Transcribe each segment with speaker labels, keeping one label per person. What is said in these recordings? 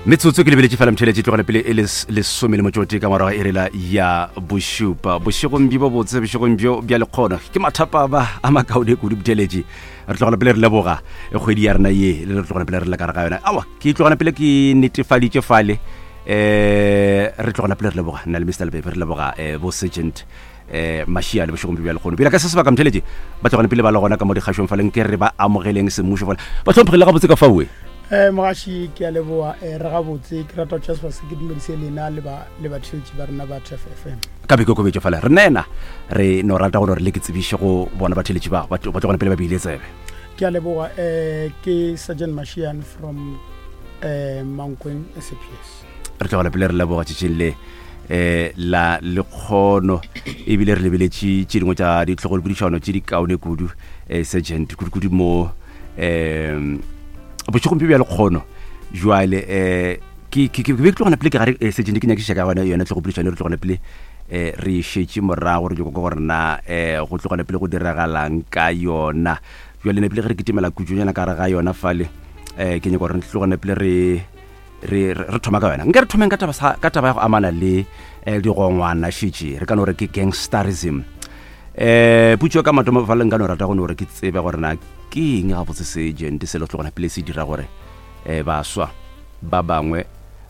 Speaker 1: Metsotso ke lebeletše fela mtheletše tlogela pele e lesome le motšote ka morago e rela ya bošupa. Bošegong bjo bobotse, bošegong bjo bja lekgono. Ke mathapama a makaone kudu mtheletše. Re tlogela pele re leboga kgwedi ya rena ye, le re tlogela pele re le ka re ga yona. Awa, ke tlogela pele ke netefaditše fale. Eh, re tlogela pele re leboga nna le Mr. Lebebe re leboga eh, bo Sergeant eh Mashiane bošegong bjo bja lekgono. Pele ka se sebaka mtheletše ba tlogela pele ba le gona ka mo dikgašong fale nke re ba amogeleng semmušo fale. Ba hlomphegile gabotse ka faoe.
Speaker 2: Eh, mogaši ke a leboa eh, re gabotse ke rata go tšea sebaka se ke dumedise lena le ba le batheetši ba rena ba Turf FM.
Speaker 1: Ka boikokobetšo fela re nena re no rata go no re le ke tsebiše go bona batheeletši ba ba tlogela pele ba beile tsebe.
Speaker 2: Ke a leboga eh, ke Sergeant Mashiane from eh, Mankweng SAPS.
Speaker 1: Re tlogela pele re leboga tšatšing le eh la lekgono ebile re lebeletše tše dingwe tša ditlhogolopodišano tše di kaone kudu eh, sergeant kudu-kudu mo um bošegong bjo bja lekgono jwale um ke ke be ke tlogana pele ke gare eh, setse ne ke nyakišiša ka gona yone tlhogopodišano re tlogana pele um re šetše morago re nyako gore na um go tlogana pele go diragalang ka yona jwale ne pele ge re kitimela kutsonyana ka gare ga yona fale um ke nyako gore re tlogane pele re re re thoma ka yona nke re thomeng ka taba ka taba ya go amana le eh, digongwana šetše re ka no re ke gangsterism eh putšo ka mathomo fa le nka no rata go no re ke tsebe gore na ke eng gabotse se gente se le tlogona pele se dira gore eh baswa ba bangwe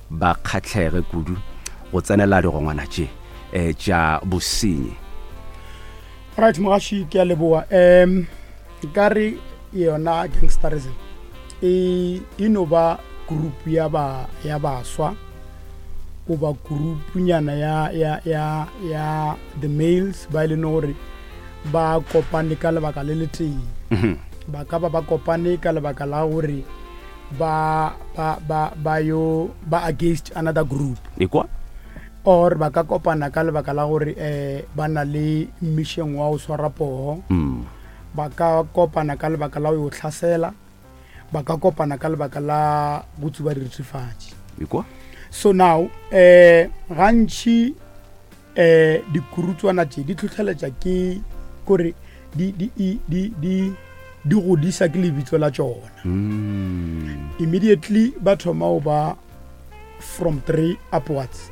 Speaker 1: ba kgatlhege kudu go tsenela digongwana tše eh tša bosenyi.
Speaker 2: Right mogaši ke a leboa um nka re yona gangsterism e e no ba group ya ba ya baswa goba group-nyana ya ya ya ya the males ba e leng gore ba kopane ka lebaka le le tee mhm. ba ka ba ba kopane ka lebaka la gore ba ba ba ba yo ba against another group
Speaker 1: ekwa
Speaker 2: or ba ka kopana ka lebaka la gore um ba na le mission wa go swara poho mm. ba ka kopana ka lebaka la go yo hlasela ba ka kopana ka lebaka la go tsuba direthefatši so now um gantši um dikurutswana tše di tlhotlheletša ke kore di, di, di, di, di godisa ke lebitso la tšona mm. immediately ba thoma go ba from three upwards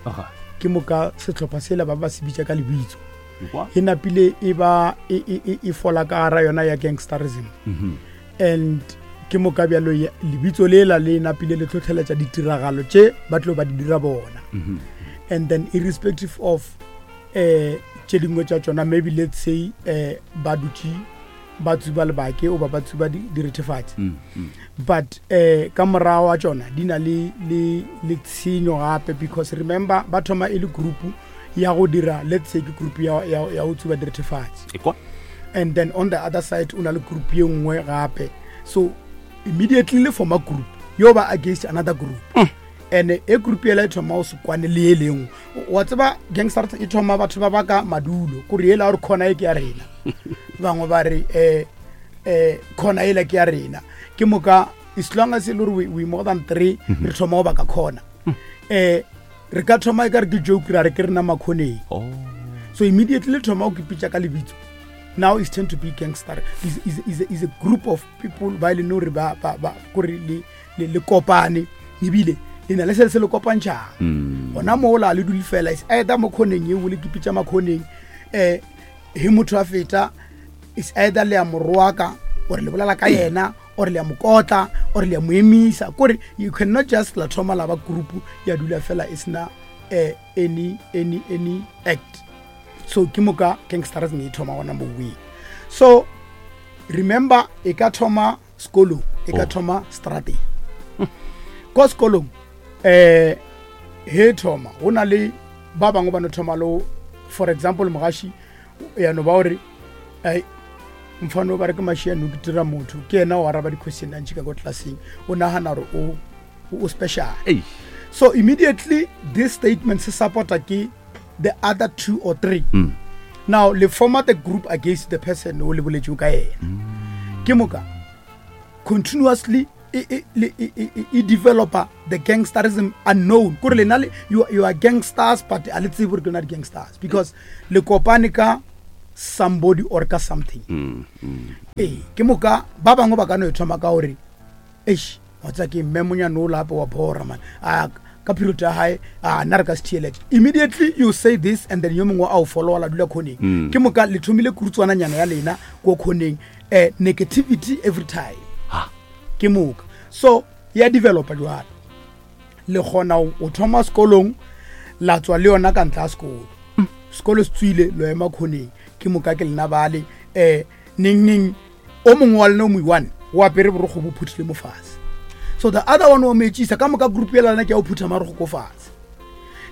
Speaker 2: ke moka sehlopha sela ba ba se bitša ka lebitso e napile e ba e, e, e, e fola ka gara yona ya gangsterism mm -hmm. and ke moka bjalo lebitso lela le napile le tlhotlheletša ditiragalo tše ba tlo ba di dira bona mm -hmm. and then irrespective of eh tše dingwe tša tšona maybe let's say eh ba dutše ba tsuba lebake oba ba tsuba direthefatsi mm, mm. but eh ka morago wa tšona di na le le le tshenyo gape because remember ba thoma e le group ya go dira let's say ke group ya ya ya go tsuba direthefatsi and then on the other side o na le group ye nngwe gape so immediately le forma group yo ba against another group mm. and e group ela e thoma o se kwane le e lengwe wa tseba gangster e thoma batho ba baka madulo kore ela gore khona e ke ya rena bangwe ba re um um khona ela ke ya rena ke moka as long as e le gore we, we more than three mhm. re thoma go baka khona um re ka thoma e ka re ke joke ra re ke rena makhoneng oh. so immediately le thoma go kipitša ka lebitso now is tend to be gangster is, is, is, is a group of people ba e leng gore ba, ba, ba kore le le, le kopane ebile le na le se se le kopantšhang mm. gona moo la le dule fela is either mo khoneng eo le kipitša makhoneng um he motho a feta is either le ya moroaka or le bolela ka yena or le ya mokotla or le ya mo emisa kore you cannot just la thoma la ba group ya dula fela e sena um any any any act so ke moka gangsterism e thoma gona moweng so remember e ka thoma sekolong e ka oh. thoma strateng ko sekolong um he thoma go na le ba bangwe ba no thoma lo for example mogaši ya no ba gore ai mfano ba re ke mašiano ke dira motho ke yena o araba di-question a ntši ka ko tlelaseng o nagana gore o o special so immediately this statement se supporta ke the other two or three mm. now le forma the group against the person o le boletseng ka yena mm. ke moka continuously e, e, e, e developer the gangsterism unknown kore lena you, you are gangsters but a le tsebe gore ke lena di-gangsters because le kopane ka somebody or ka something mm, mm. ee ke moka ba bangwe ba ka no e thoma ka gore eish. Wa tseba ke mme monyane o lape wa bora man. A ka period ya hae a nna re ka se theelete. Immediately you say this and then yo mongwe a o followa la dula khoneng. Mm. Ke moka le thomile kurutswana nyana ya lena ko khoneng. Eh negativity every time.
Speaker 1: Ha.
Speaker 2: Ke moka. So ya developa jwalo. Le kgona o thoma sekolong la tswa le yona ka ntla sekolo. Mm. Sekolo se tswile lo ema khoneng. Ke moka ke lena bale eh neng neng o mongwe wa lena o mo-one o apere borokgo bo phuthile mo fatshe so the other one wa mo etsisa ka moka group ya lena ke ya o phutha marokgo ko fatshe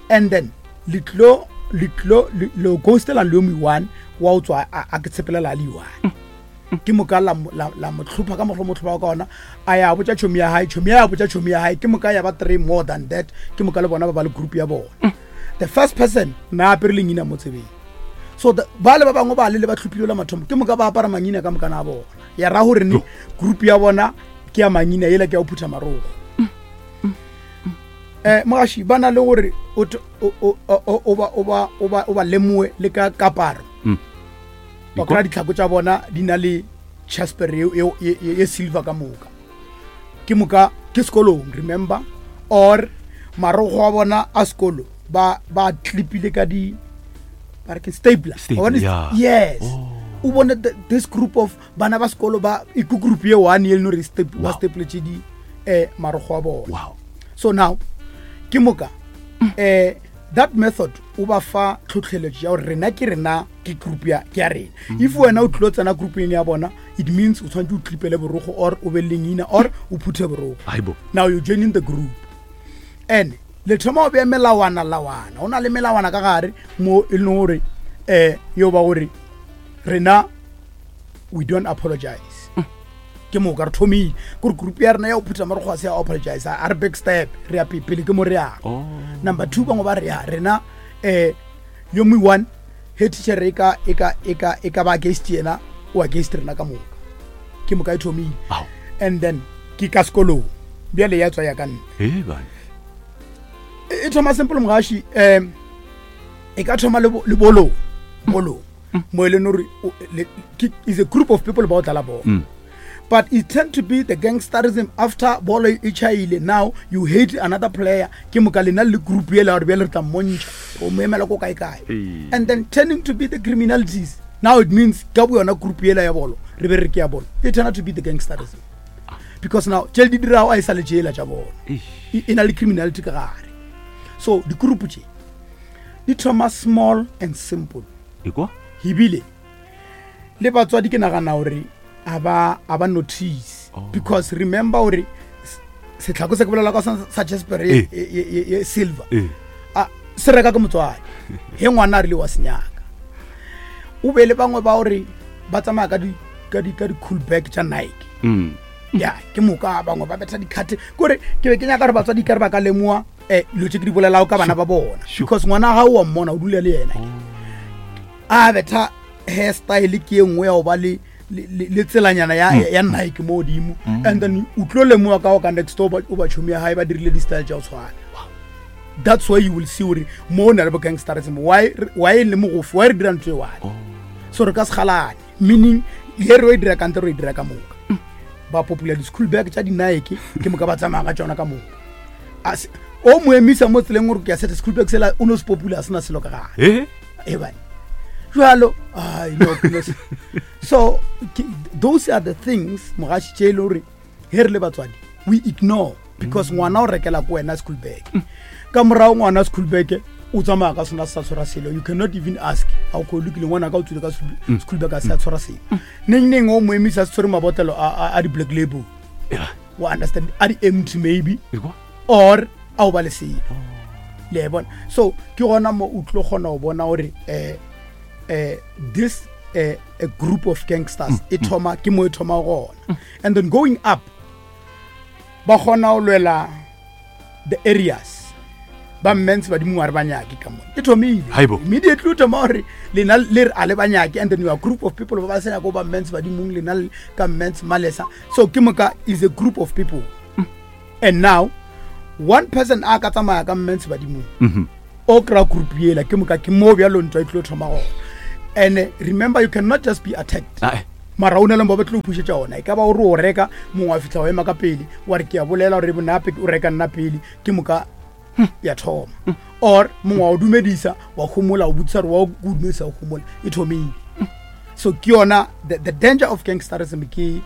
Speaker 2: and then le tlo le tlo le ghostelang le yo mo-one wa o tswa a ke tshepelela a le one ke moka la la mo tlhopha ka moglo mo tlhopha ka ona a ya botša tšhomi ya hae tšhomi ya botša tšhomi ya hae ke moka ya ba three more than that ke moka le bona ba ba le group ya bona the first person na apere lengina mo tsebeng so ba le ba bangwe ba le le ba tlhophile la mathomo ke moka ba apara mangina ka mokana a bona ya ra gore ne group ya bona ke ya mangina yela ke ya go phutha marogo um mogaši ba na le gore o ba lemoe le ka kaparo mm. wa kry-a ditlhako tša bona di na le chasper ye silver ka moka ke moka ke sekolong remember or marogo a bona a sekolo ba ba clipile ka di ba re ke stapler
Speaker 1: yeah.
Speaker 2: yes oh. o bone this group of bana ba sekolo ba e ke group ye one ye le gore ba stapletše di eh marogo a bona
Speaker 1: wow.
Speaker 2: so now ke moka eh that method o ba fa tlhotlheletso ya gore rena ke rena ke group ya ke ya rena mm. if wena o tlilo tsena groupeng ya bona it means o tshwanetse o tlipele borogo or o be lengina or o phuthe borogo now you joining the group and le thoma o bea melawana lawana o na le melawana ka gare mo e leng gore um yo ba gore rena we don't apologize mm. ke moka re thomile kore group ya rena ya go phutha marogo a se ya apologize a re back step re ya pele ke mo re yang oh. number two bangwe ba re ya rena um yo mo one he teacher e ka e ka e ka e ka ba against yena o against rena ka moka ke moka e thomile and then ke ka sekolong bjale ya tswa ya ka nna e thoma simple mogaši um e ka thoma le bolong bolong mm. mo e leng gore is a group of people ba o tlala bolo mm. but it tend to be the gangsterism after bolo e chaile now you hate another player ke moka lena le group ele gore bjale re tla mmontšha o mo emela ko kae kae and then turning to be the criminalities now it means ka bo yona group ela ya bolo re be re ke ya bolo it turn out to be the gangsterism because now tšele di dirago a e sa le tšela tša bona e na le criminality ka gare so di-group tše di thoma small and simple ebile le batswadi ke nagana gore a ba a ba notice oh. because remember gore setlhako se ke bolela ka sa jasper e, e, e, e silver a se reka ke motswadi he ngwana a rile wa senyaka o be le bangwe ba gore ba tsamaya ka di ka di ka di cool bag tša Nike mm. ya ke moka bangwe ba betha dikgate kore ke be ke nyaka gore batswadi ka re ba ka lemoa um dilo tse ke di bolelago ka bana ba bona because ngwana ga o wa mmona o dula le yena oh. A betha hair style ke e nngwe ya go ba le le tselanyana ya, mm. ya Nike mo godimo mm. and then o tlo lemoga ka go ka next door o ba tšhomi ya gae ba dirile di-style tša go tshwana that's why you will see gore mo o na le bo gangsterism why why e le mogofi why re dira ntho e one oh. so re ka se galane meaning ye re o e dira kante re e dira ka moka mm. ba popular di-school bag tša di-nike ke moka ba tsamaya ka tšona ka moka o mo emisa mo tseleng gore ke ya sete school bag sela o no se popular a sena selo ka gare eh? e bane jalo ai no no so ke, those are the things mogaši tše e le gore he re le batswadi we ignore because mm. ngwana o rekela ko wena school bag mm. ka morago ngwana school bag o tsamaya ka sona se sa tshwara selo you cannot even ask a o lokile ngwana ka o tswile ka mm. school bag a se a tshwara selo mm. neng neng o mo emisa se tshwere mabotlelo a di-black label wa understand a di-empty maybe or a o ba le selo le bona so ke gona mo o tlo kgona go bona gore um um this uh, a group of gangsters mm, e mm. thoma ke mo e thoma gona mm. and then going up ba kgona go lwela the areas ba mmens badimo wa re ba nyake ka mone e thomile immediately o thoma gore lena le re a le ba nyake and then you are group of people ba ba sa nyako ba mmens badimong lena ka mmens malesa so ke moka is a group of people and now one person a ka tsamaya ka mmens badimong mhm. o kry-a group yela ke moka ke mo bjalo ntwa e tlo thoma gona and eh, remember you cannot just be attacked
Speaker 1: ah, eh.
Speaker 2: Mara o na le mo ba tlo pušetša ona. E ka ba o re o reka, mongwe wa fihla wa ema ka pele, wa re ke a bolela gore bonape o reka nna pele, ke moka ya thoma. Or mongwe wa o dumedisa, wa homola, o botsisa gore wa o dumedisa o homola, e thomile. So ke yona the, the danger of gangsterism ke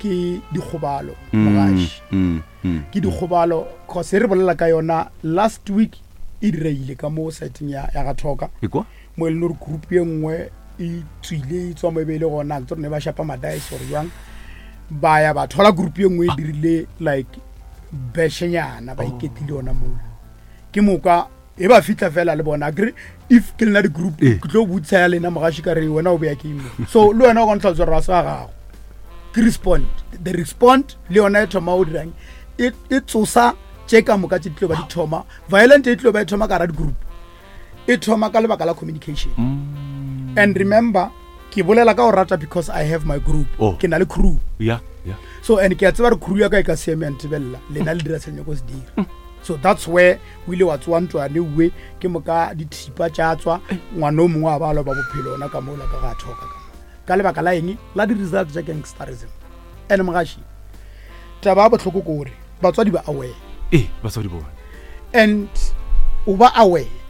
Speaker 2: ke dikgobalo mogaši. Ke dikgobalo cause e re bolela ka yona last week e direile ka mo siteng ya ya ga Thoka. Mo e leng gore group ye nngwe e tswile e tswa mo e be e le gona ke tsone ba shapa madice gore jwang ba ya ba thola group ye nngwe e dirile like beshenyana ba iketlile ona mola ke moka e ba fitlha fela le bona akere if ke lena di-group eh. ke tlo botsa ya lena mogaši ka re wena o beya ke imo so le wena o ka ntlha tswa ra sa gago ke respond the respond le yona e thoma o dirang e, e tsosa tše ka moka tše di tlo ba di thoma violent e tlo ba e thoma ka ra di-group e thoma ka lebaka la communication mm. and remember ke bolela ka go rata because i have my group oh. ke na le crew
Speaker 1: yeah, yeah.
Speaker 2: so and ke a tseba re crew ya ka e ka seeme ya ntebelela lena le dira senyako se dira mm. so that's where o ile wa tsoa ntwane uwe ke moka dithipa tša tswa ngwana o mongwe a ba loba bophelo ona ka mola ka ga thoka ka ka lebaka la eng la di-result tša gangsterism and mogaši taba ya bohloko ke gore batswadi ba aware
Speaker 1: ee batswadi bona
Speaker 2: and o ba aware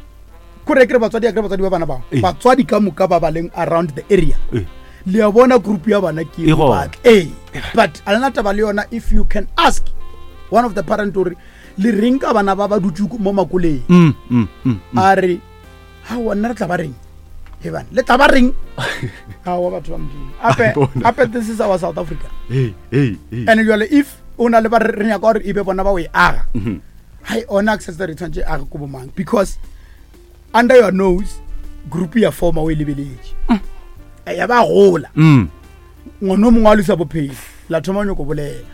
Speaker 2: kore kere batswadi akere batswadi ba bana bao
Speaker 1: Ee.
Speaker 2: batswadi ka moka ba ba leng around the area
Speaker 1: Ee.
Speaker 2: le a bona group ya bana ke
Speaker 1: E gona.
Speaker 2: batla ee but a lena taba le yona if you can ask one of the parent gore le reng ka bana ba ba dutse mo makoleng
Speaker 1: Mm, mm, mm, mm.
Speaker 2: a re aowa nna re tla ba reng e bane le tla ba reng aowa batho ba modimo ape ape this is our south africa
Speaker 1: hey, hey, hey.
Speaker 2: and jale if o na le ba re nyaka gore e be bona ba o e aga mhm. hai ona access re tshwanetse age ko bomang because under your nose group ya forma o e lebeletše mm. ya ba gola
Speaker 1: mm.
Speaker 2: ngwana o mongwe a lusa bophelo la thoma nyoko bolela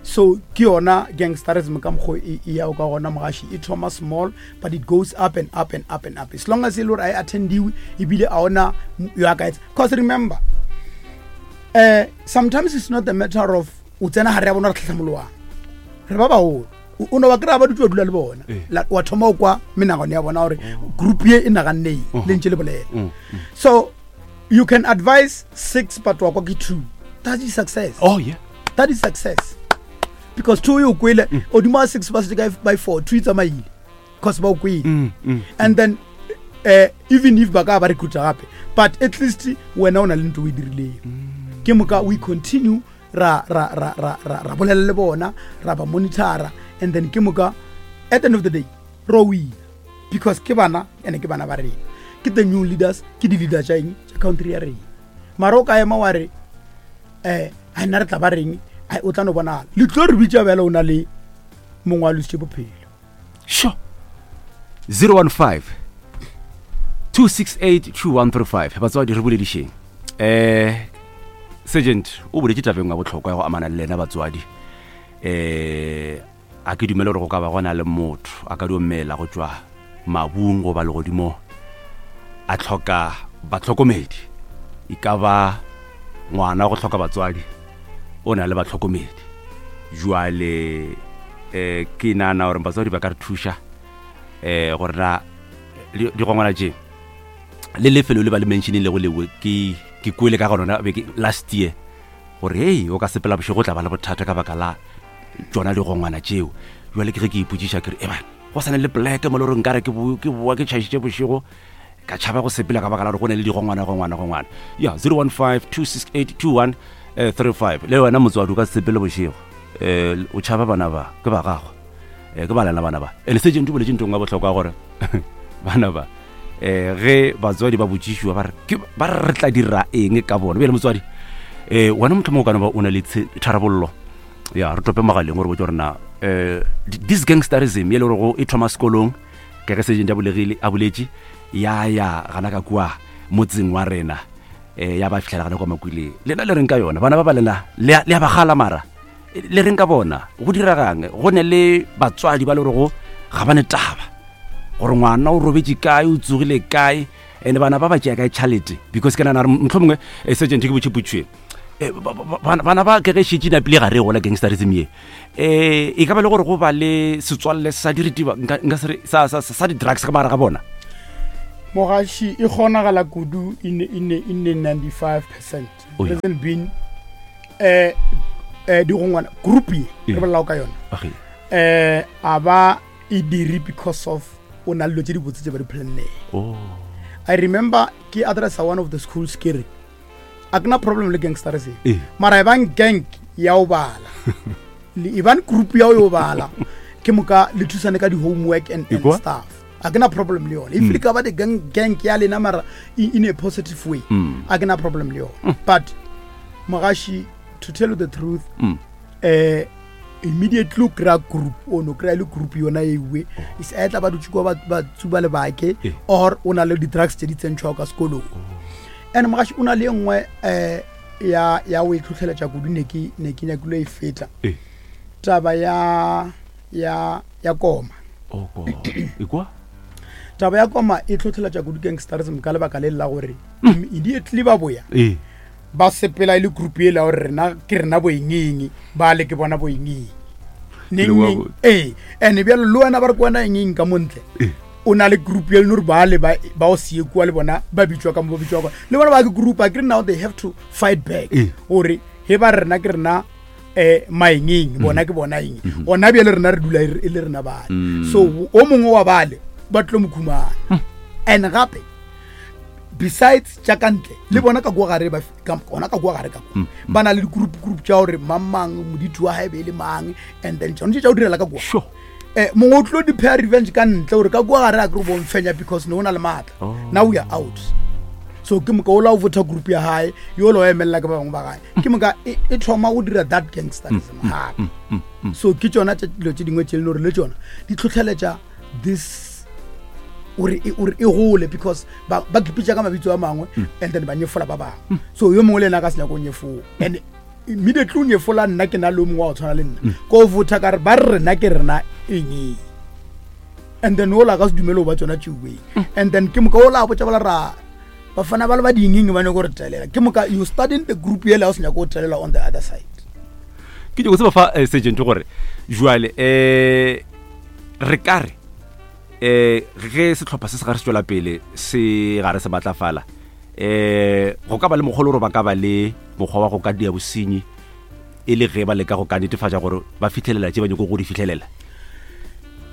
Speaker 2: so ke yona gangsterism ka mokgo e, e yago ka gona mogaši e thoma small but it goes up and up and up and up as long as e le gore a e attendiwe ebile a ona yo a ka etsa cause remember uh, sometimes it's not the matter of o tsena gare ya bona re tlhatlhamoloang re ba bagolo o no ba kry-a ba dutse ba dula le bona
Speaker 1: eh.
Speaker 2: wa thoma o kwa menagano ya bona gore group ye e naganneng
Speaker 1: uh-huh.
Speaker 2: le ntse le bolela
Speaker 1: mm, mm.
Speaker 2: so you can advise six but wa kwa ke two that is success
Speaker 1: oh yeah
Speaker 2: that is success because two e o kwele mm. odimo a six ba setse ka by four two e tsamaile because ba o kwele
Speaker 1: mm, mm,
Speaker 2: and then uh, even if ba ka ba recruita gape but at least wena o na le ntho o e dirileng mm. ke moka we continue ra ra ra ra ra ra bolela le bona ra ba monitora and then ke moka at the end of the day ro wina because ke bana ene ke bana ba rena ke the new leaders ke di-leader tša eng tša country ya rena mara o ka ema wa re um a nna re tla ba reng ai o tla no bonala le tlo re bitša bjale o na le mongwe wa lositše bophelo
Speaker 1: sure 015 268 2135 batswadi re boledišeng um sergeant o boletše tabeng ya bohlokwa ya go amana le lena batswadi um A ke dumele gore go ka ba go na le motho a ka dio mela go tšwa mabung goba legodimong a hloka bahlokomedi. E ka ba ngwana go hloka batswadi, o na le bahlokomedi. Jwale um ke nagana gore batswadi ba ka re thuša um gore na digongwana tše le lefelo le ba le mentionilego leo ke ke kwele ka ga lona beke last year gore hei o ka sepela bošego o tla ba le bothata ka baka la tšona digongwana tšeo jale ke ge ke ipotšiša ke re eba go sane le poleke mo le gore nkare ke boa ke tšhaišitše bošego ka tšhaba go sepela ka baka la gore go ne le digongwana gongwana gongwana ya 015 268 21 35 le wena motswadi o ka sepele bošego um o tšhaba bana ba ke ba gago um ke ba lena bana ba and sergeant o boletse ntong ya bohlokwa gore bana ba um ge batswadi ba botšišiwa ba re ba re re tla dira eng ka bona bjale motswadi um wena motlho mongwe o ka no ba o na le tharabollo ya re tope mogaleng gore botse gore na um this gangsterism ye le gore e thoma sekolong ka ge sergeant a bolegile a boletše ya ya gana ka kua motseng wa rena um ya ba fitlhela gana kwa makwileng lena le reng ka yona bana ba ba lena le a ba gala mara le reng ka bona go diregang go ne le batswadi ba le gorego ga ba ne taba gore ngwana o robetše kae o tsogile kae and bana ba ba tšea kae tšhalete because ke nana gore motlho mongwe eh, sergeant ke botšhepotšhwe eh, bana ba ke ge šetše napile ga re gola gangsterism ye um e ka ba le gore go ba le setswalle sa diritiba nka se re sa di-drugs ka magare ga bona.
Speaker 2: Mogaši e kgonagala kudu in, in, in 95 percent.
Speaker 1: Oh, yeah.
Speaker 2: Reason being, eh, eh, digongwana group ye
Speaker 1: Eh.
Speaker 2: re bolelago ka yona
Speaker 1: Okay.
Speaker 2: eh, a ba e dire because of o na le dilo tse dibotse tse ba di planneng.
Speaker 1: Oh.
Speaker 2: I remember ke addressa one of the schools ke re a ke na problem le gangsterism
Speaker 1: Eh.
Speaker 2: mara e bang gang ya o bala le e bang group ya o yo bala ke moka le thusane ka di-homework and, and
Speaker 1: Ekwa?
Speaker 2: stuff a ke na problem le yone if le ka ba the gang, gang ya lena mara in a positive way
Speaker 1: Mm.
Speaker 2: a ke na problem le yone but mogashi to tell you the truth
Speaker 1: Mm.
Speaker 2: eh immediately o kry-a group o no kry-a le group yona ewe is either ba dutse kwa ba tsuba lebake
Speaker 1: Eh.
Speaker 2: or o na le di-drugs tse di tsentšhwago ka sekolong and mogaši o na le e nngwe um ya ya o e tlhotlheletša kudu ne ke ne ke nyakile e feta
Speaker 1: Eh.
Speaker 2: taba ya ya ya koma
Speaker 1: Oh, ko. Ekwa?
Speaker 2: taba ya koma e tlhotlheletša kudu gangsterism ka lebaka le la gore immediately ba boya
Speaker 1: Eh.
Speaker 2: ba sepela e le group e la gore rena ke rena boengeng ba le ke bona boengeng
Speaker 1: Le wa
Speaker 2: neng
Speaker 1: bo-
Speaker 2: ee and bjalo le wena ba re ke wena engeng ka montle
Speaker 1: Eh.
Speaker 2: o na le group e leng gore ba le ba ba o sie kua le bona ba bitswa ka mo ba bitswa ka le bona ba ke group a ke re now they have to fight back
Speaker 1: Eh.
Speaker 2: gore he ba re rena ke rena um maengeng bona ke bona eng gona bjale rena re dula e le rena bale
Speaker 1: Mm.
Speaker 2: so o mongwe wa bale ba tlo mo khumana and gape besides tša ka ntle le bona ka kua gare ba gona ka kua gare ka kua ba na le di-group group tša gore mang mang moditi wa gae be e le mang and then tšone tše tša go direla ka kua
Speaker 1: Sure.
Speaker 2: um mongwe o tlo di-pay revenge ka ntle gore ka kua gare a kere o bomfenya because ne o na le maatla
Speaker 1: Oh.
Speaker 2: now we are out so ke moka o la o vota group ya gae yo la o emelela ke ba bangwe ba gae ke moka e e thoma go dira that gangsterism gape so ke tsona dilo tse dingwe tse e leng gore le tsona di tlhotlheletša this ore e, ore e gole because ba ba kipitša ka mabitso a mangwe and then ba nyefola ba bangwe so yo mongwe le ena a ka se nyako nyefola and immediately o nyefola nna ke na le o mongwe wa go tshwana le nna ko votha ka re ba re rena ke rena eng and then ola ka se dumele go ba tsona tšeuweng and then ke moka ola a botša bala ra bafana ba le ba dingeng ba nyako re telela ke moka you starting the group yela o se nyako go telela on the other side
Speaker 1: Ke nyako tseba fa eh, sergeant gore jwale eh re ka re eh ge sehlopha se se gare se tšwela pele se gare se matlafala eh go ka ba le mokgwa gore ba ka ba le mokgwa wa go ka dia bosenyi e le ge ba leka go ka netefatša gore ba fitlhelela tše ba nyako go di fitlhelela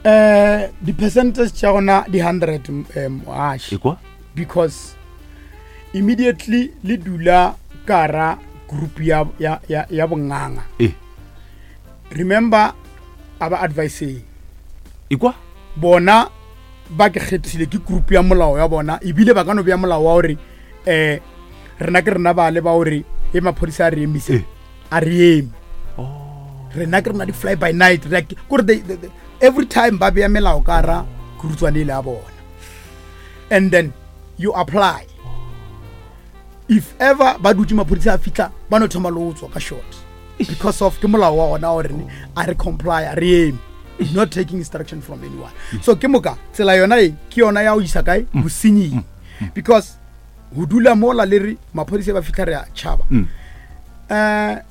Speaker 2: um di-percentage tša gona di-hundred um moaši
Speaker 1: ekwa
Speaker 2: because immediately le dula kara group ya, ya, ya, ya bonganga
Speaker 1: e
Speaker 2: remember a ba adviseng
Speaker 1: ekwa
Speaker 2: bona ba ke kgethile ke group ya molao ya bona ebile ba ka no bea molao wa gore um rena ke rena bale ba gore e maphodisa a re emise
Speaker 1: Eh.
Speaker 2: a re eme rena ke rena di-fly by night re a- kore they- they- they- every time ba bea melao ka ra kurutswane ele ya bona and then you apply if ever ba dutse maphodisa a fitlha ba no thoma le o tswa ka short because of ke molao wa gona gore a re comply a re eme not taking instruction from anyone so ke moka tsela yona e ke yona ya go isa kae bosenying because go dula mola le re maphodisa ba fitlha re a tšhaba um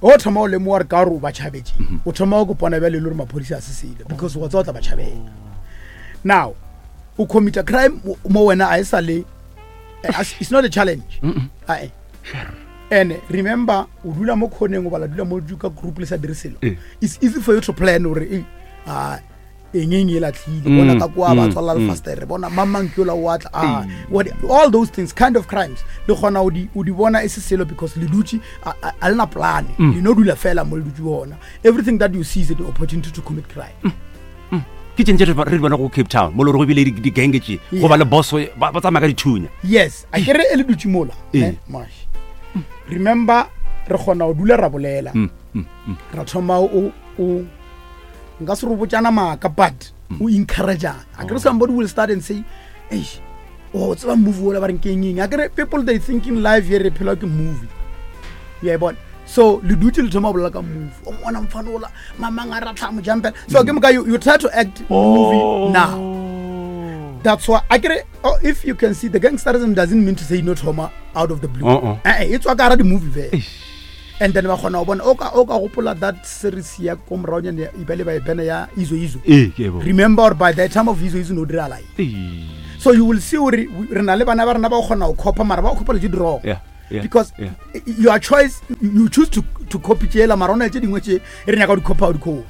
Speaker 2: o thoma o lemoga re ka gore o ba tšhabetse o thoma go kopana bjale le gore maphodisa a se sele because wa tsa o tla ba tšhabela now o commita crime mo wena a e sa le eh, it's not a challenge ae and remember o dula mo khoneng o bala dula mo ka group le sa dire selo
Speaker 1: Eh.
Speaker 2: it's easy for you to plan gore eh, ah, eng eng e latlhile bona ka kwa ba tswalela lefastere bona mang mang ke ola o atla ah, what, all those things kind of crimes le kgona o di o di bona e se selo because le dutse a a- a lena plan le no dula fela mo le dutse gona everything that you see is an opportunity to commit crime
Speaker 1: ke tšeng tše re di bona go cape town mo le gore go bile di-gange tše go ba le boso ba ba tsamaya ka dithunya
Speaker 2: yes a kere e le dutse mola
Speaker 1: Ee.
Speaker 2: ne, Mosh. Remember re kgona go dula ra bolela ra thoma o o nka se re botsana maaka but o encourageana a kere somebody will start and say eish o tseba movie ola ba reng ke eng eng a kere people they thinking life ye re phela ke movie ya e bona so le dutse le thoma go bolela ka movie o mona mfana ola mamang a ratlha mo jumpela so ke moka you, you try to act movie now that's why I get oh, if you can see the gangsterism doesn't mean to say no trauma out of the blue.
Speaker 1: Uh-uh.
Speaker 2: Eh, eh, it's wa ka di-movie fela. And then ba kgona go bona o ka o ka gopola that series ya ko moraonyane e ba le ba e bena ya Izo Izo.
Speaker 1: ee ke e bona.
Speaker 2: Remember by the time of Izo Izo no dirala eng.
Speaker 1: Ee.
Speaker 2: So you will see gore re na le bana ba rena ba go kgona go coppa, mara ba go coppa le tse di wrong. Because your choice, you choose to copy tšela, mara o na le tše dingwe tše e re nyaka go di coppa, o di copy.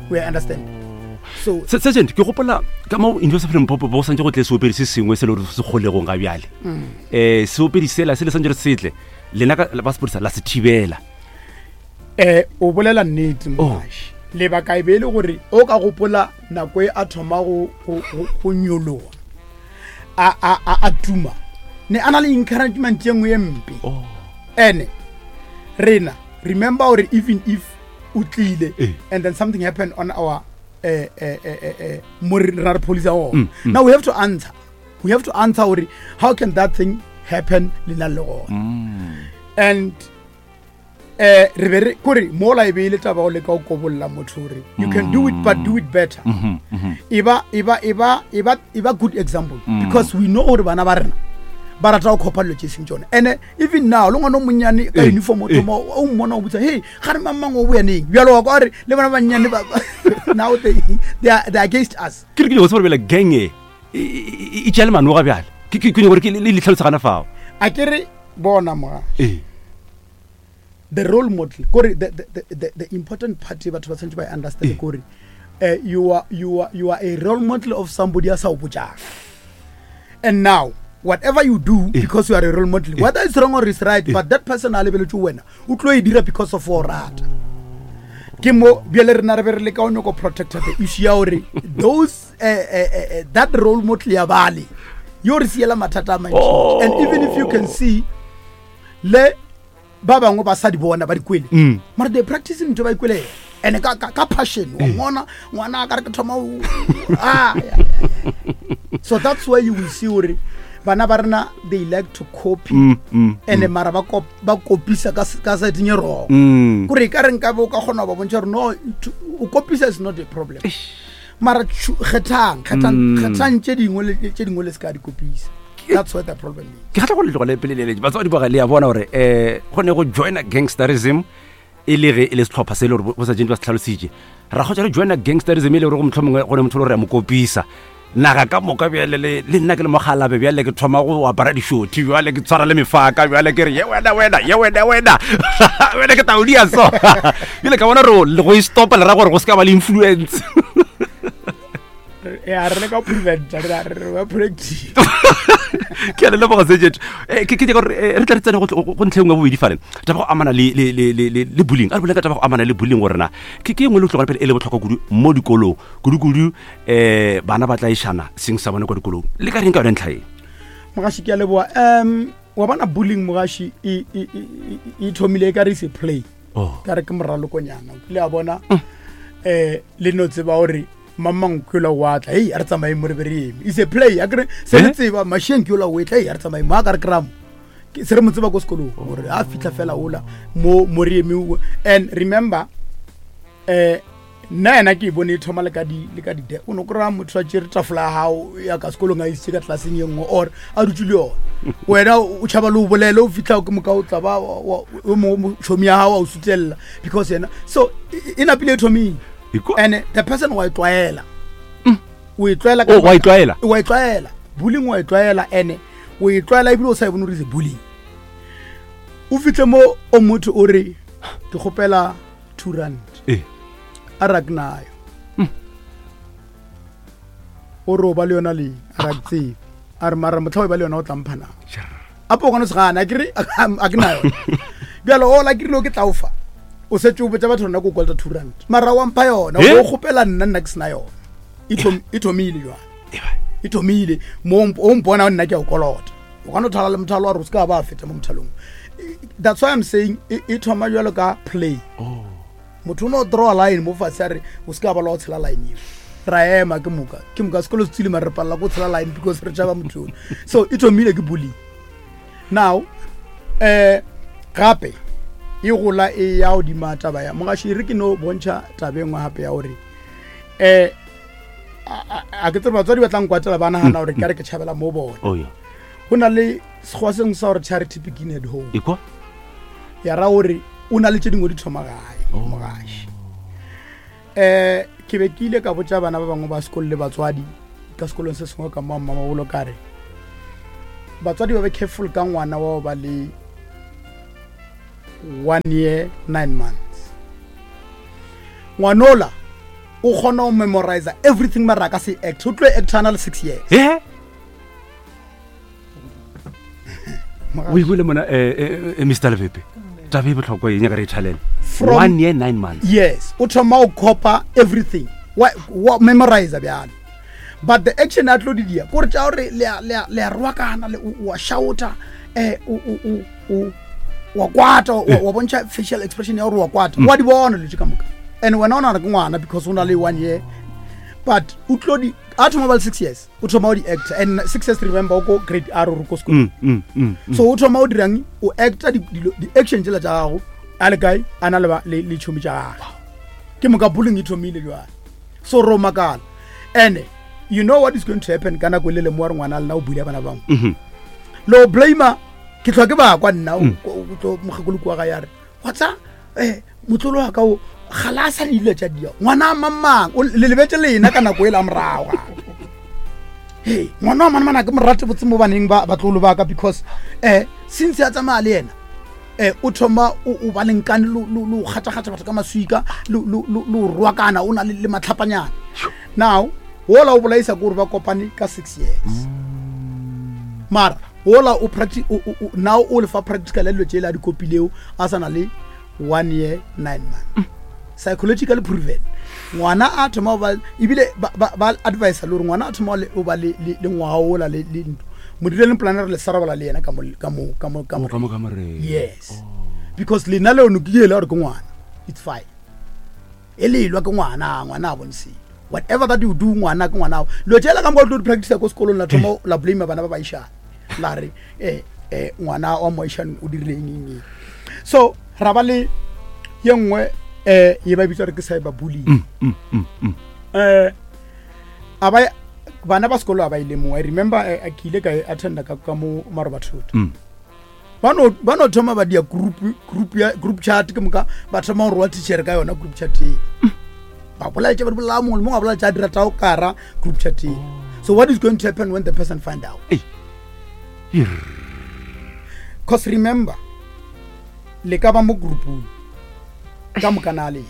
Speaker 2: We understand.
Speaker 1: So Sergeant, ke gopola ka mo University of Limpopo bo santse go tle seopedi se sengwe se le gore se kgolegong ga bjale. Seopedi sela se le santse re setle lena ka ba sepodisa la se thibela.
Speaker 2: O bolela nnete, mogaši. Lebaka e be e le gore o ka gopola nako e a thoma go nyologa, a tuma, ne a na le encouragement ye nngwe ye mpe. Ene rena remember gore even if o tlile and then something happened on our mo re ra re police gona, now we have to answer. We have to answer gore how can that thing happen le na le gona. And re be re kore mola e be e le taba go leka go kobolla motho gore you can do it but do it better. E ba, e ba, e ba, e ba, e ba good example. Because we know gore bana ba rena ba rata go khopa dilo tse seng tsone. And even now le ngwana o monnyane ka uniform o thoma o mmona o botsa, hey, ga re mang mang o boya neng? Bjalo wa kwa gore le bana ba bannyane ba, now they are against us.
Speaker 1: Ke re ke nyako tseba gore bjale gang e, e, e, e tšea le manoga bjale. Ke, ke, ke nyako gore ke le, le tlhalosa gana fao.
Speaker 2: A ke re bona moga. The role model kore the important part e batho ba tshwanetse ba e understand kore you are a role model of somebody a sa o botjang. And now whatever you do, because you are a role model, whether it's wrong or it's right, but that person a lebeletse wena, o tlo e dira because of o rata. Ke mo bjale rena re be re leka o nyako protect the issue ya gore those that role model ya bale yo re siela mathata a mantši. And even if you can see le ba bangwe ba sa di bona ba di kwele, mara they practice ntho ba ikwele and ka passion wa ngwana, ngwana a ka re ke thoma o, ah, yeah, yeah, yeah. So that's why you will see gore bana ba rena they like to copy, and mara ba ba kopisa ka side e wrong. Kore e ka re nkabe o ka kgona go ba bontšha gore no, o kopisa is not a problem, mara kgethang, kgethang, kgethang tše dingwe le tše dingwe le se ka di kopisa. That's what the problem is.
Speaker 1: Ke kgatla go le tlogele pele le batswadi ba ga le ya bona gore go ne go joina gangsterism e le ge e le setlhopha se e le gore bo sa jeng ba se tlhalositše, ra kgotsa re joina gangsterism e le gore go motlho mongwe go ne motho le gore ya mo kopisa naga ka moka. Bjale le nna ke le mogalabe, bjale ke thoma go apara dišothi, bjale ke tshwara le mefaka, bjale ke re ye wena, wena, ye wena, wena, wena ke taodia. So bjale ka bona re le go e stopa le ra gore go se ka ba le influence.
Speaker 2: Ya, re leka go preventa, re re ba practice.
Speaker 1: Ke a le leboga sejet. Ke nyaka gore re tla re tsene go ntlheng ya bobedi fale, taba go amana le bullying. A re boleng ka taba go amana le bullying, gore na ke e nngwe le tlogela pele e le botlhokwa kudu mo dikolong, kudu-kudu bana ba tla išana seng sa bone kwa dikolong. Le ka reng ka yone ntlha e?
Speaker 2: Mogaši, ke a leboa. Wa bona bullying, mogaši, e thomile e ka re se play. Ka re ke moralokonyana, o kile a bona le no tseba gore mamang ke yola wa tla, hei, a re tsamaye mo re be re eme. Is a play, a kere se re tseba masheng ke yola o etla, hei, a re tsamaye mo a ka re kramo se re mo tseba ko sekolong gore a fitlha fela ola mo mo re eme. And remember, nna yena ke e bone e thoma le ka di le ka di o no kry-a motho a tšere tafola ya gago ya ka sekolong a isitse ka tlelaseng ye nngwe or a dutse le yone, wena o tšhaba le o bolele, o fitlha ke moka o tla ba o mongwe tšhomi ya gago a o sutelela because yena so e napile e thomile. And the person wa e tlwaela, o e tlwaela.
Speaker 1: Oh, wa e tlwaela.
Speaker 2: Wa e tlwaela bullying, wa e tlwaela, and o e tlwaela ebile o sa e bone gore is a bullying. O fitlhe mo o motho o re ke kgopela 2 rand, a re a ke nayo, o re o ba le yona leng, a re a ke tsebe, a re mara motlha o e ba le yona o tlampha na apo o kgone se gana, a kere a ke nayo. Bjalo o la kerile o ke tlaufa, o setse o botsa batho rona ko kolota 2 rand, mara wa mpha yona, o kgopela nna, nna ke sena yona. E thomile jwale, e thomile mo o mpona nna ke a o kolota, o ka no thala le mothalo wa re o se ka ba feta mo mothalong. That's why I'm saying e thoma jalo ka play. Motho o no draw line mo fatshe, a re o se ka ba la o tshela line eo, ra ema ke moka, ke moka sekolo se tswile, mare re palela ko tshela line because re tšhaba motho ono. So e thomile ke bullying. Now gape e gola e ya godima taba ya mogaši, e re ke no bontšha taba e nngwe gape ya gore a ke tsere batswadi ba tla nkwatela, ba nagana gore ka re ke tšhabela mo bona.
Speaker 1: Oh, yeah.
Speaker 2: Go na le sekgowa sengwe sa gore charity begin at home.
Speaker 1: Ekwa?
Speaker 2: Ya ra gore o na le tše dingwe di thoma gae. Mogaši, ke be ke ile ka botša bana ba bangwe ba sekolo le batswadi. ka sekolong se sengwe ka mo mmamabolo ka re batswadi ba be careful ka ngwana wa ba le one year nine months ngwanola o kgona go memorize everything mara a ka se act o tlo acta ana le six years
Speaker 1: eh? o ikwele mona eh, eh, eh, mr lebepe taba e botlhokwa e nyaka re e thalele one year nine months
Speaker 2: yes o thoma o copa everything wa, wa memorize bjalo but the action a tlo di dia kore tša gore le a rwakana wa shouta um wa kwata wa bontšha facial expression ya gore wa kwata mm. wa di bona dilo tše ka moka and wena o nagana ke ngwana because o na le one year but o tlo di a thoma ba le six years o thoma o di actor and six years remember o ko grade r o ko sekolong mm, mm, mm, so o thoma o dirang o actor di-action tsela tša gago a le kae a na le tšhomi tša gage ke moka bullying e thomile jale so ro makala ene you know what is going to happen ka nako e le lemoa re ngwana lena o buile bana bangwe mm-hmm. lo blame ke tlhwa ke ba kwa nna o mokgekolo kua ga ya re whatsa eh motlolo wa ka o gala a sa le dilo tša dia ngwana a mamang le lebetse lena ka nako e la morago hey ngwana wa manamana ke morate botse mo baneng ba batlolo ba ka because eh since a tsamaya le yena eh o thoma o ba lenkane lo lo kgatha-kgatha batho ka maswika lo lo lo rwakana o na le matlhapanyana now wola o bolaisa ke gore ba kopane ka six years mm. mara wola o now o lefa practical ya dilo tšele a di kopileo a sa na le one year nine month mm. psychologically proven ngwana a thoma ba ebile ba advise le gore ngwana a thoma o ba le ngwaga ola le ntho mo direleng plan re le sarabala le yena ka mo ka mo ka mo ka mo yes oh. because lena le ono ke ele gore ke ngwana it's fine e lelwa ke ngwana ngwana a bone selo whatever that you do ngwana ke ngwana lo tšela ka moka o tlo di practice ko sekolong la thoma la blame bana ba baišana la re eh eh ngwana wa moaishane o dirile eng eng eng so ra ba le ye nngwe eh ye ba bitsa re ke cyber bullying mm, mm, mm, mm. eh a ba bana ba sekolo a ba ile mo i remember eh, ke ile ka e attenda ka ka mo marobathoto mm. ba no ba no thoma ba dia group group ya group chat ke moka ba thoma go roa teacher ka yona group chat e ba bolaetša ba di bolaya mongwe le mongwe a bolaetša a dira tao kara group chat e so what is going to happen when the person find out cause remember le ka ba mo groupung ka moka na le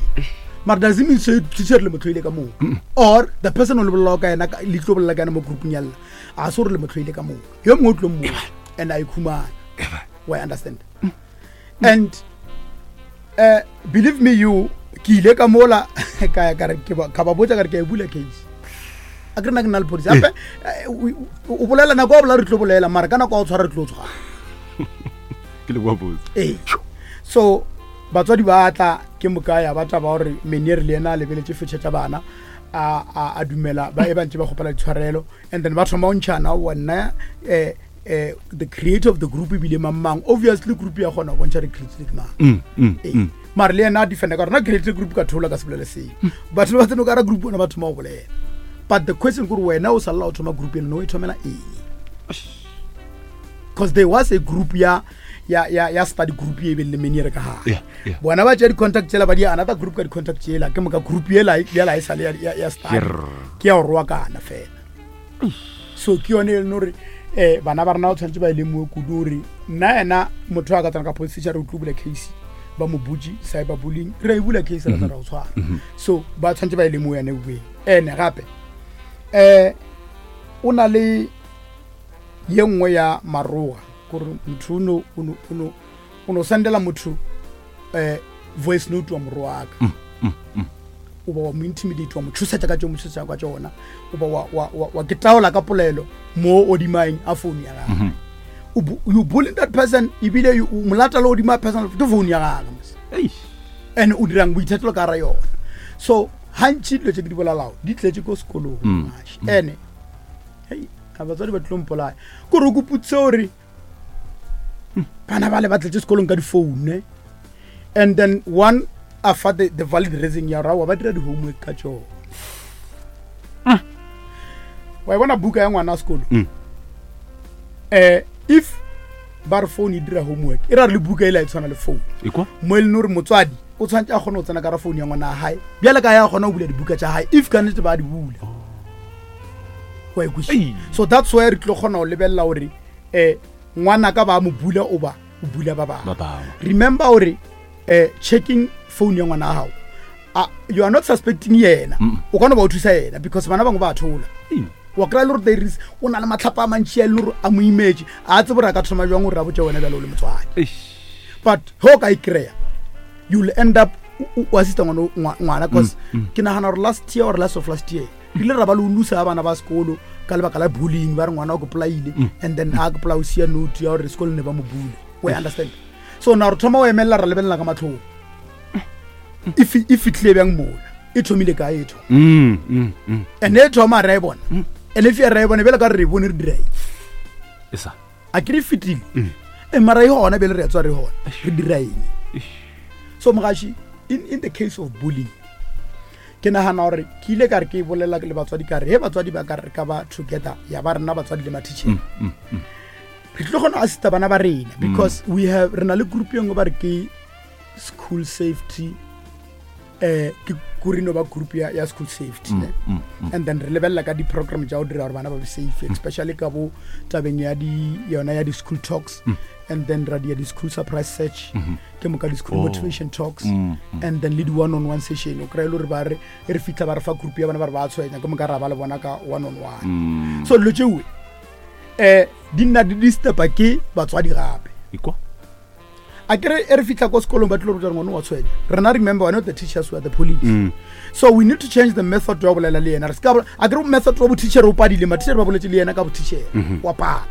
Speaker 2: mara does it mean say teacher le motlhoile ka moka or the person o le bolelago ka yena le tlo bolela ka yena mo groupung ya lena a se gore le motlhoile ka moka yo mongwe o tlo mmoa and a ikhumana wa understand and uh, believe me you ke ile ka mola ka ka re ka ba botsa ka re ke e bula case a ke rena ke nna le police gape eh, o bolela nako o bolela re tlo bolela mara ka nako a o tshwara re tlo tshwara
Speaker 1: ke le botse
Speaker 2: ee so batswadi ba tla ke moka ya ba taba gore meniere le yena a lebeletse fetšha tša bana a a a dumela ba e ba ntse ba kgopela ditshwarelo and then ba thoma go ntšhana wa nna eh eh the creator of the group ebile mang mang obviously group ya kgona go bontšha re creatile ke mang mm, mm, ee. mm. mare le yena a defenda ka rona creatile group ka thola ka se bolele seo batho ba tseno ka ra group bona ba thoma go bolela but the question kore wena o salela o thoma group eno no e thomela eng because there was a group ya ya ya ya study group e beng le meniere ka gare yeah, yeah. bona ba tšea di-contact tsela ba di another group ka di-contact tsela ke moka group ela yela e sale ya, ya, ya study ke ya go roakana fela so ke yone e leng gore um bana ba rena ba tshwanetse ba e lemoe kudu gore nna ena motho a ka tsena ka police station re o tlo bula case ba mo butse cyber bullying re e bula case ra tsena go tshwara mhm. so ba tshwanetse ba e lemoe yone bueng ene gape um o na le ye nngwe ya maroga gore motho o no sendela motho um voice note wa morwaka mm, mm, mm. o ba wa mo intimidate wa mo tshosetsa ka tšeo mo tshosetsa ka tšona o ba wa, wa, wa, wa ke taola ka polelo mo odimaeng a phone ya gagwe mm -hmm. you bullying that person ebile o molata le odima person ke phone ya gagwe and o dirang boithatelo ka ra yona so gantši dilo tse ke di bolalago di tletse ko sekolong mm. ene hei a batswadi ba tlo mpolaya kore o koputse gore bana ba le ba tletse sekolong ka difoune and then one a fa the, the valid reason ya rawa ba dira di-homework ka tsone ah. wa e bona buka ya ngwana a sekolo um if ba re phone e dira homework e ra re le buka e la e tshwana le phone mo e leng gore motswadi o tshwanetse a kgone go tsena ka ra phone ya ngwana ya gae bjale ka ya kgona go bula dibuka tša gae if ka nnete ba di bula oh. Wa e kwešiša? So that's why re tlo kgona go lebelela gore um ngwana ka ba mo bula o ba o bula ba bangwe. Remember gore um checking phone ya ngwana wa gago, you are not suspecting yena, o ka no ba o thusa yena because bana bangwe ba thola. Wa kry-a le gore there is o na le matlhapa a mantši a e le gore a mo imetse, a tsebe gore a ka thoma jwang gore a botse wena bjale o le motswadi. But ge o ka e kry-a, you will end up o assista ngwana, cause ke nagana gore last year or last of last year re ile ra ba le o losa bana ba sekolo ka lebaka la bullying, ba re ngwana o ke polaile, and then a ke polao sia note ya gore sekolo ne ba mo bule. We understand? So na re thoma o emelela, ra lebelela ka matlhong e e fitlhile bjang mola, e thomile kae, e thoma and e thoma ra e bona, and if ra e bona bjale ka re re bone re dira eng? A ke re fetile e mara e gona bjale re ya tswa re gona re dira eng? So mogaši, in the case of bullying, ke nagana gore ke ile ka re ke bolela le batswadi ka re he batswadi ba ka re ka ba together ya ba rena batswadi le mathicheng, re tlo kgona go assista bana ba rena because we have re na le group e nngwe ba re ke school safety, ke kurino ba group ya school safety, ne? And then re lebelela ka di-program tša go dira gore bana ba be safe, especially ka bo tabeng ya di yona ya di-school talks, and then ra dia di-school surprise search, ke moka di-school motivation talks, and then le di-one on one session. O kry-e le gore ba re e re fitlha ba re fa group ya bana ba re ba tshwenya, ke moka ra ba le bona ka one on one. So dilo tšeoe di nna di disturba ke batswadi gape.
Speaker 1: Ikwa.
Speaker 2: A kere e re fitlha ko sekolong ba tlilo ruta ngwana wa tshwenya. Rena, remember, we're not the teachers, we are the police. So we need to change the method wa bolela le yena. Re ska a kere method wa bo-teacher o padile, ma-teacher ba boletse le yena ka bo-teacher wa pala.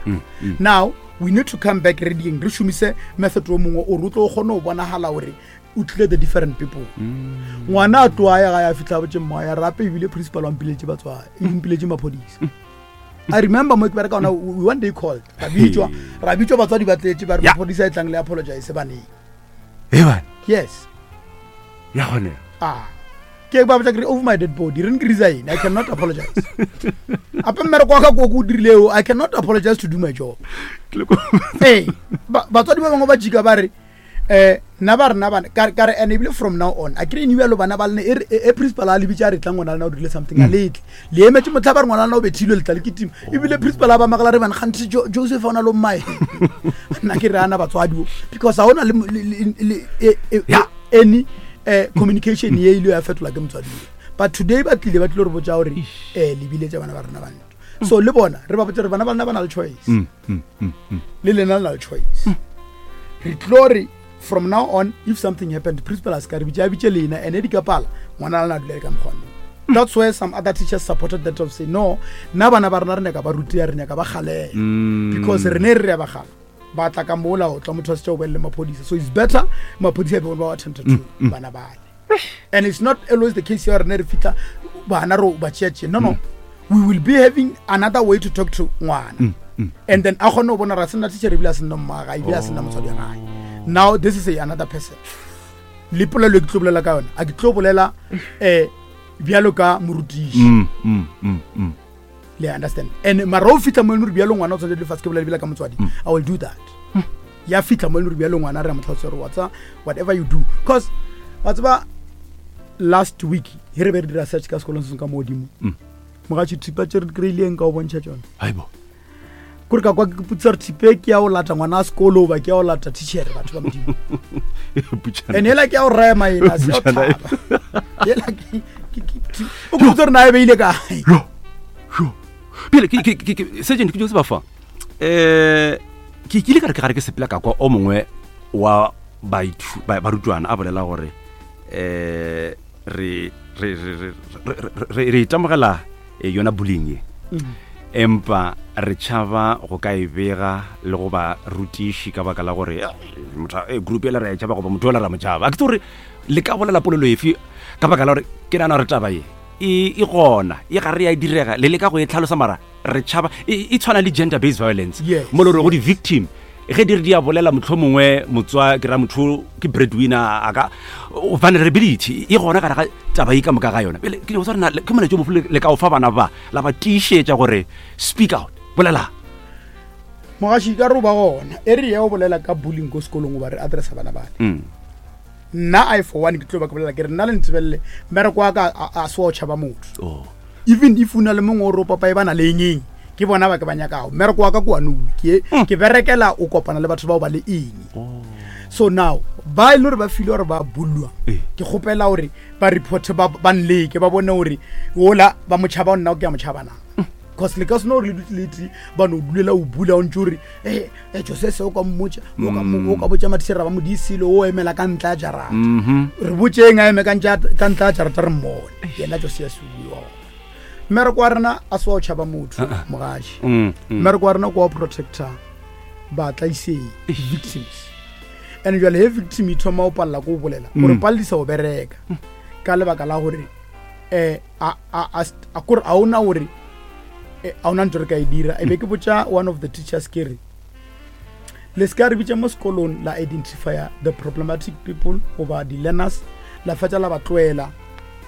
Speaker 2: Now we need to come back reading, re šomise method o mongwe ore o tlo kgone go bonagala gore o tlile the different people. Ngwana a tloa ya ga ya fitlha botse mma ya rape ebile principal wa mpiletše batswadi, e mpiletše maphodisa. I remember mo ke bereka ona, we one day called, ra bitswa, ra bitswa batswadi ba tletse, ba re maphodisa e tlang le apologize baneng.
Speaker 1: E bane.
Speaker 2: Yes.
Speaker 1: Ya gone.
Speaker 2: Ah. Ke ba botsa ke re over my dead body, re ke resign, I cannot apologize. Ape mmereko wa ka ko ko dirileo, I cannot apologize to do my job. Ee, batswadi ba bangwe ba jika ba re nna ba rena bana ka re and ebile from now on a kere ene bjalo bana ba lene e re e principal a lebitse a re tla ngwana lena o dirile something, a letle le emetse motlha ba re ngwana lena o bethilwe letla le ke tima, ebile principal a ba magala re bana gantsi Joseph o na le mmae, nna ke re ana batswadi o because ga ona le any communication ye ile ya fetola ke motswadi, but today ba tlile ba tlile re botsa gore le biletsa bana ba rena bantho, so le bona re ba botsa re bana ba lena ba na le choice, le lena le na le choice. Re tlo re from now on if something happened, principal a se ka re bitša, a bitše lena and e di ka pala ngwana lena a dula le ka mokgwaneng. That's where some other teachers supported that of say no, nna bana ba rena re nyaka ba rutea, re nyaka ba galela, because re ne re re ya ba gala ba tla ka mola o tla motho a setša o bolele maphodisa, so it's better maphodisa e be ba attended to bana bale. And it's not always the case ya rene re fitlha bana re ba tšea, no, we will be having another way to talk to ngwana, and then a kgone go bona ra sena teacher ebile a sena mmaga ebile a sena motswadi wa gae. Now this is a another person le polelo e ke tlo bolela ka yona, a ke tlo bolela bjalo ka morutiši. Le understand? And mara o fitlha mo e leng gore bjalo ngwana o tshwanetse lefatshe ke bolela ebile ka motswadi, I will do that. Ya fitlha mo e leng gore bjalo ngwana re a mo tlhalosa gore whatsa whatever you do, cause wa tseba last week he re be re dira search ka sekolong se sengwe ka mo godimo, mogatši thipa tse re di kry-ileng ka o bontšha tsone.
Speaker 1: Haibo.
Speaker 2: Kore ka kwa ke potsa gore thipe ke ya go lata ngwana a sekolo ba ke ya go lata teachere, batho ba modimo. And ela ke ya go rema ena se ya go
Speaker 1: Butšana.
Speaker 2: tlhaba. Ela o ke potsa gore na e beile kae.
Speaker 1: Yo. Yo. Pele ke ke ke ke sergeant ke jo se ba fa. Ke kile ka re ke gare ke sepela ka kwa o mongwe wa baithu barutwana a bolela gore re re re re re re itemogela yona bullying ye, empa re tšhaba go ka e bega le go ba rutiši ka baka la gore motho group ela re a e tšhaba goba motho ola ra mo tšhaba. A ke tse gore le ka bolela polelo efe ka baka la gore ke nagana gore taba ye e gona e ga re ya direga le leka go e tlhalosa mara re tšhaba e tshwana le gender based violence, mo le gore go di-victim ge di re di a bolela motlho mongwe motswa ke ra motho ke breadwinner a ka vulnerability e gona gare ga taba e ka moka ga yona. Pele ke nyaka go tseba gore ke molaetša o mofe le ka o fa bana ba la ba tiišetša gore speak out, bolela.
Speaker 2: Mogaši ka re o ba gona e re ya o bolela ka bullying ko sekolong o ba re addressa bana bale. Nna I for one ke tlo ba ke bolela ke re nna le ntsebelele mmereko wa ka a se wa o tšhaba motho.
Speaker 1: Oh.
Speaker 2: Even if o na le mongwe o re o papa e ba na le eng eng, ke bona ba ke ba nyakago. Mmereko wa ka ke wa nowe, ke ke berekela o kopana le batho bao ba le eng. So now ba e le gore ba file gore ba bullwa, ke kgopela gore ba reporte ba ba nleke ba bone gore ola ba motšhaba o nna ke ya motšhaba na. Cause le ka seno gore le dutse le tee ba no dulela o bula o ntse o re e e Josese o ka mmotša o ka mo- o ka botša mathišere ba modisile o emela ka ntla ya jarata. Re botšeng a eme ka ntle ya jarata re mmone yena Josias o bua gona. Mmereko wa rena a se wa o tšhaba motho mogaši. Mmereko wa rena ke wa protector batlaisei victims. And jwale he victim e thoma o palela ko o bolela o re paledisa go bereka ka lebaka la gore um a kore a ona gore a ona ntho re ka e dira. E be ke botša one of the teachers ke re le se ka re bitša mo sekolong la identifya the problematic people goba di-learners, la fetša la ba tloela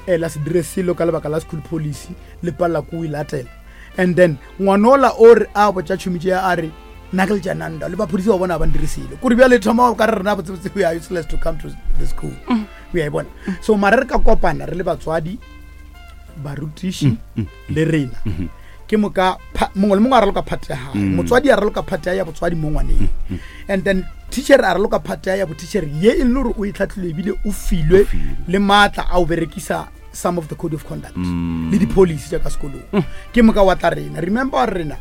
Speaker 2: la se dire selo ka lebaka la school policy le palela ko o e latela. And then ngwanola o re a botša tšhomitše ya a re nna ke letšananda le baphodisa ba bona ba ndire selo kore bjale thoma ka re rena botsebotse we are useless to come to the school. O a e bona. So mare re ka kopana re le batswadi, barutiši le rena, ke moka mongwe le mongwe a raloka part ya gae. Motswadi a raloka part ya botswadi mo ngwaneng, and then teacher a raloka part ya boteacher ye e le gore o e tlhatlhile ebile o filwe le maatla a o berekisa some of the code of conduct le di-policy tša ka sekolong. Ke moka wa tla rena. Remember gore rena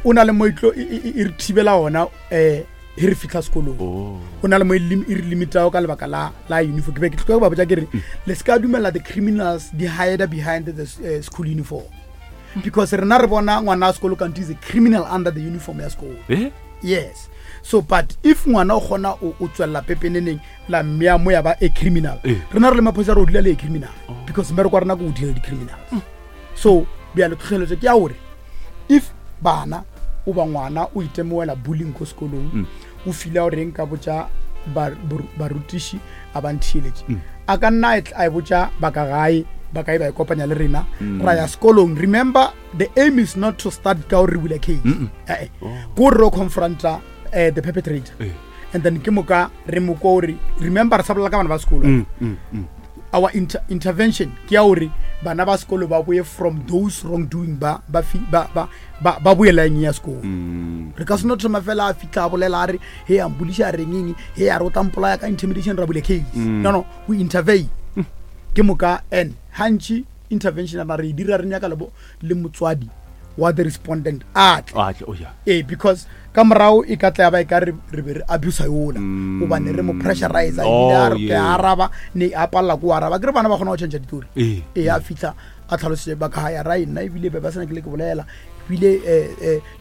Speaker 2: o na le mo e tlo e re thibela ona he re fitlha sekolong. O na le mo e e re limitago ka lebaka la uniform. Ke be ke tlo ba botša ke re le se ka dumela the criminals di hide behind the school uniform, because rena re bona ngwana wa sekolo kante is a criminal under the uniform ya sekolo. Yes. So but if ngwana o kgona o tswelela pepeneneng la mmea mo ya ba a criminal, rena re le maphodisa re o dula le a criminal, because mmereko wa rena ke o deal di-criminals. So bjale tlhotlheletso ke ya gore if bana o ba ngwana o itemogela bullying ko sekolong, o fila gore nka botša barutiši a ba ntheeletše, a ka nna a e botša ba ka gae, ba kae ba e kopanya le rena, ra ya sekolong. Remember, the aim is not to start ka gore re bula case. Eh, eh. Ke gore re confronta the perpetrator, and then ke moka re mo kwa gore remember re sa bolela ka bana ba sekolo. Our intervention ke ya gore bana ba sekolo ba boye from those wrongdoing, ba ba fi- ba ba ba ba boye line ya sekolo. Re ka se no thoma fela a fitlha a bolela a re he a mpoliša a reng eng, he a re o tla mpolaya ka intimidation, ra bula case. No, no, we intervene. Ke moka and gantši intervention ra re e dira re nyaka le motswadi wa the respondent a tle.
Speaker 1: A tle, oh yeah.
Speaker 2: Ee, because ka morago e ka tla ya ba e ka re be re abusa yola, gobane re mo pressurize, ebile a re ke araba ne a palela ko araba. Ke re bana ba kgona go change ditori. Ee, a fitlha a tlhalositse ba ka ya ra nna ebile be ba sena ke le ke bolela ebile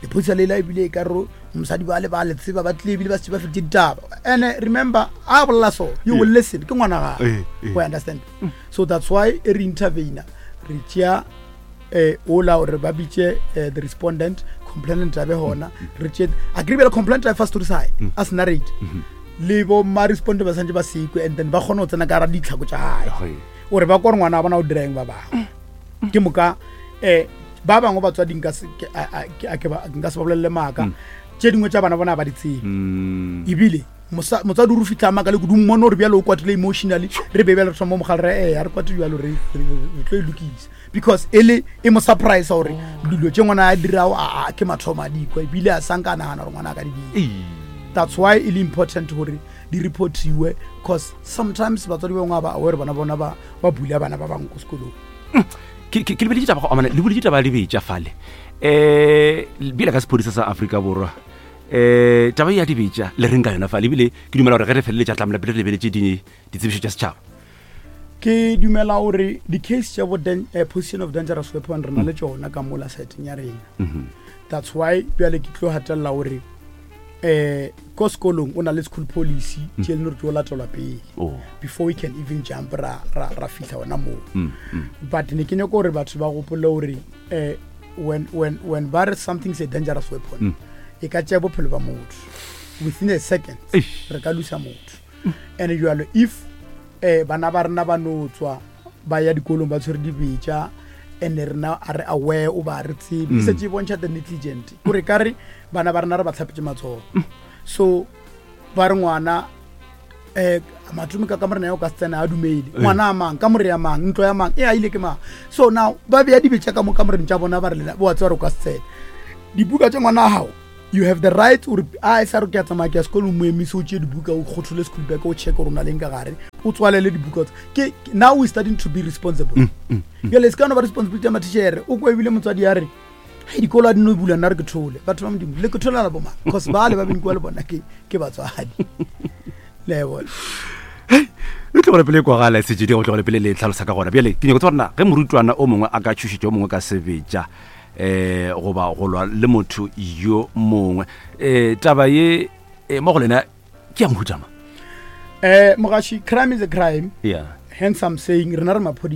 Speaker 2: lephodisa lela ebile e ka re mosadi ba le ba le tseba ba tlile ebile ba setse ba feditse ditaba. And remember a bolela so you will listen, ke ngwana gago. O understand? So that's why e re intervene, re tšea ola gore ba bitše the respondent, complainant a be gona, re tšee a kry bjale complainant a fa story sa gae a se narrate le bo ma respondent ba santse ba sekwe, and then ba kgone go tsena ka gara ditlhako tša gae gore ba kore ngwana wa bona o dira eng. Ba bangwe ke moka ba bangwe batswadi nka se ke- a- a- ke- a ke ba- nka se ba bolelele maaka, tše dingwe tša bana bona ba di tsebe, ebile motswadi o re fitlha maka le kudu mmone gore bjalo o kwatile emotionally, re be bjale re thoma mogale re a re kwate bjalo re tlo e lokisa, because e le e mo surprise gore dilo tše ngwana a dirago a ke mathomo a dikwa, ebile a sanka a nagana gore ngwana a ka di dira. That's why e le important gore di reportiwe, cause sometimes batswadi ba bangwe ba aware bona bona ba bula bana ba bangwe ko sekolong.
Speaker 1: Ke lebeletše taba go amana le boletše taba ya dibetša fale, bile ka sephodisa sa Afrika Borwa, taba ya dibetša le reng ka yona fale? Ebile ke dumela gore ge re feleletša tlamela pele re lebeletše ditsebišo tša setšhaba.
Speaker 2: Ke dumela gore di-case tša bo position of dangerous weapon re na le tšona ka mola seteng ya rena. That's why bjale ke tlo gatelela gore ko sekolong o na le school policy tše leng gore tlo latelwa pele before we can even jump ra fitlha ona moo. But ne ke nyako gore batho ba gopole gore when ba re something is a dangerous weapon, e ka tšea bophelo ba motho within a second. Re ka lusa motho. And jalo if bana ba rena ba no tswa ba ya dikolong ba tshwere dibetša and rena a re aware o ba re tsebe, e setse e bontšha the negligent, kore ka re bana ba rena re ba tlhapetse matsogo. So ba re ngwana Um matome ka kamorena ya o ka se tsena a dumele ngwana a mang kamore ya mang ntlo ya mang e a ile ke mang. So now ba beya dibetša ka mo kamoreng tša bona, ba re lena wa tseba re o ka se tsena dibuka tša ngwana wa gago. You have the right gore a e sa re ke a tsamaya ke ya sekolo, mo emise, o tšee dibuka, o kgothole school bag, o check gore o na leng ka gare, o tswalele dibuka tse. Ke now we starting to be responsible. Bjale e se ka no ba responsibility ya mathišere. O kwa ebile motswadi ya re hei dikolo a di no bula, nna re ke thole. Batho ba Modimo, le ke tholela bomang? Cause bale ba benkiwa le bona ke ke batswadi, le bona.
Speaker 1: E tlogele pele e kwagala sejedi, go tlogele pele le tlhalosa ka gona. Bjale ke nyako tseba gorena ge morutwana o mongwe a ka tšhošetša o mongwe ka sebetša goba go lwa le motho yo mongwe, taba ye mo go lena ke ya mohutama?
Speaker 2: Mogaši, crime is a crime. Hence I'm saying rena re maphodisa.